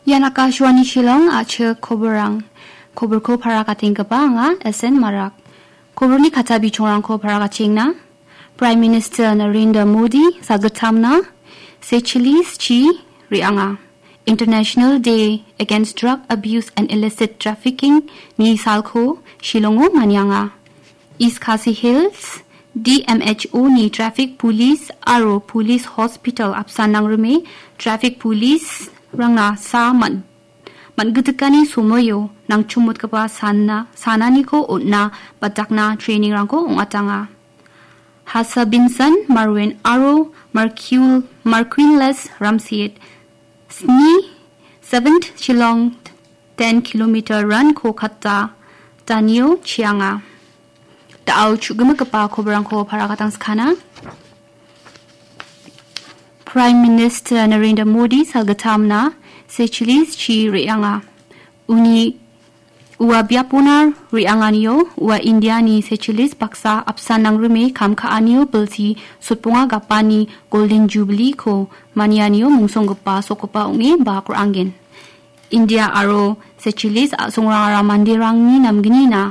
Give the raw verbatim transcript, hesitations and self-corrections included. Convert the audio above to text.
Ian Akashvani Shillong, a·chik koborrang. Koborko parakatenggipa anga S N Marak. Koborni kata bichongrangko parakatengna. Prime Minister Narendra Modi sagittamna Seychelles chi re·anga. International Day Against Drug Abuse and Illicit Trafficking ni salko Shillongo manianga. East Khasi Hills, D M H O ni traffic police aro police hospital apsan nangrime traffic police rangna sa man-, man·gitikani somoio nangchomotgipa sana-, sananiko on·na batakna training-rangko ong·atanga. Hasa Binsan, Marwin aro Marquil-, Marquinless Ramsiet, sni, seventh Shillong ten kilometer run-ko katta, Danio chianga. Da·o chu·gimigipa koborrangko parakatang skana. Prime Minister Narendra Modi salgittamna Seychelles chi re·anga. Uni ua biapona re·anganio ua Indiani Seychelles baksa apsan nangrime kam ka·anio bilsi sotbonga gapani Golden Jubilee-ko manianio mungsonggipa sokgipa ong·e bak ra·angen. India aro Seychelles a·songrangara manderangni namgnina